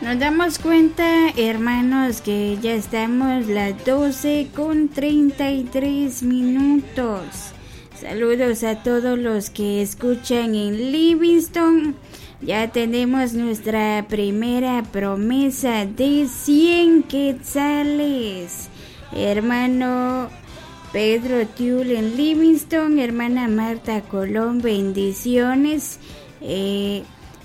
Nos damos cuenta, hermanos, que ya estamos las 12:33 minutos. Saludos a todos los que escuchan en Livingston. Ya tenemos nuestra primera promesa de 100 quetzales. Hermano Pedro Tiul en Livingston, hermana Marta Colón, bendiciones.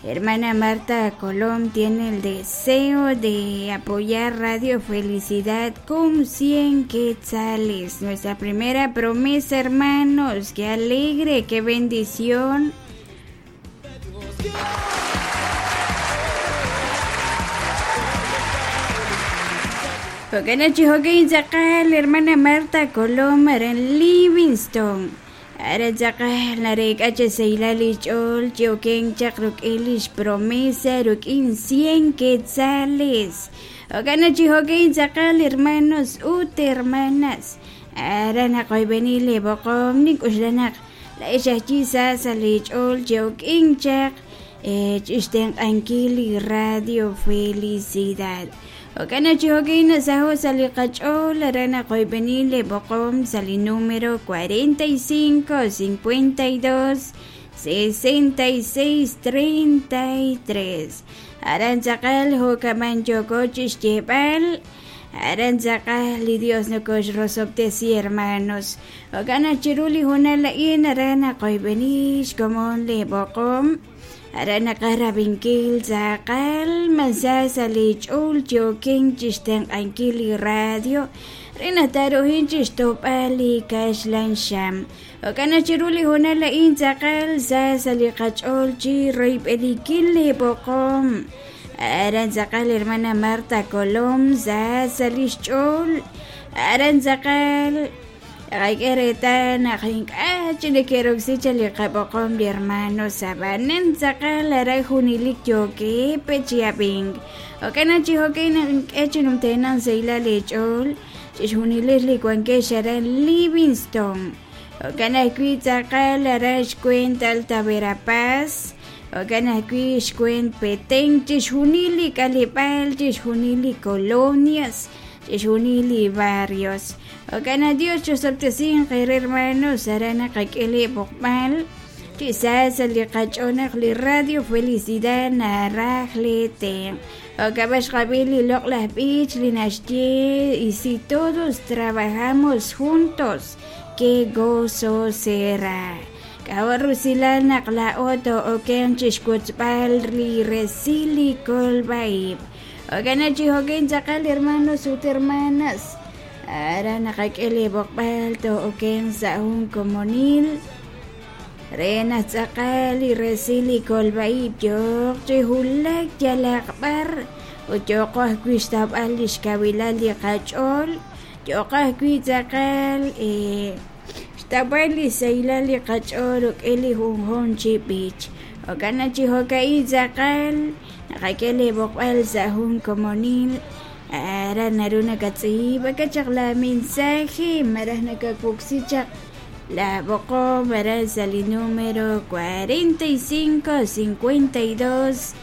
Hermana Marta Colón tiene el deseo de apoyar Radio Felicidad con 100 quetzales. Nuestra primera promesa, hermanos. Qué alegre, qué bendición. Hermana Marta Colón en Livingston. Ara tzaqal narek'ach saylal ch'ol chioken chaq ruk'ilish promesa ruk'in 100 quetzales. Okana chihokin tzaqal hermanos ut hermanas. Ara naqoybenile boqom nik uxlanaq la ixajchi sa salich'ol chiokin chaq ch'ixtenq'ankili Radio Felicidad. Okana chihokin saho saliqach'ol ara naqoybenile boqom sali número 45 52 66 33. Aran tzaqal hokaman yokoch ixyeb'al. Aran tzaqal li Dios nokox rosobtesi hermanos. Okana chiruli junala'in ara naqoybenix komon le boqom. Ara naqarabinkil tzaqal mansa salich'ul chiokin chixtenq'ankil radio. Rinataruhin chixtop'al kaxlan xam. Okana chiruli junala'in tzaqal sa saliqach'ol chi royb'elikil le boqom. Aran tzaqal hermana Marta Colón sa salixch'ol. Aran tzaqal Aykereta najink'a chinekeroxi chaliqaboqom li hermano sabanen tzaqal ara junilik yoke pechiabing. Okana chihokin echinumtenan seila lech'ol chixjunilis likuanke xaran Livingston. Okana kui tzaqal ara xkuent Alta Verapaz. Okana kui xkuent Petén chixjunili kalipal chixjunili colonias chixjunili barrios. Okana Dios chosoptesin qere hermanos arana qak'ili boqmal quizás liqach'onaq li Radio Felicidad narajlete. Okabax qabili loqlaj b'ich li naxye y si todos trabajamos juntos qué gozo será. Kawarrusilal naqla'oto oken chixkutzb'al li resili kolbaib. Okana chihokin tzaqal hermanos ut hermanas. Ara naqak'ili boqb'al to oken sa'un komonil. Rena tzaqal li resili kolbaib yoq chihulak yalaqb'ar. Uyoqoj kuixtab'al lixkawilal li qach'ol. Yoqoj kui tzaqal xtab'al li saylal li qach'ol uk'ili junjun chib'ich. Okana chihoka'i tzaqal naqak'ili boqb'al sa'un komonil. Ara naruna katz'iba kachaq la mensaje maraj nakakuksichaq la boqom ara sali número 45 52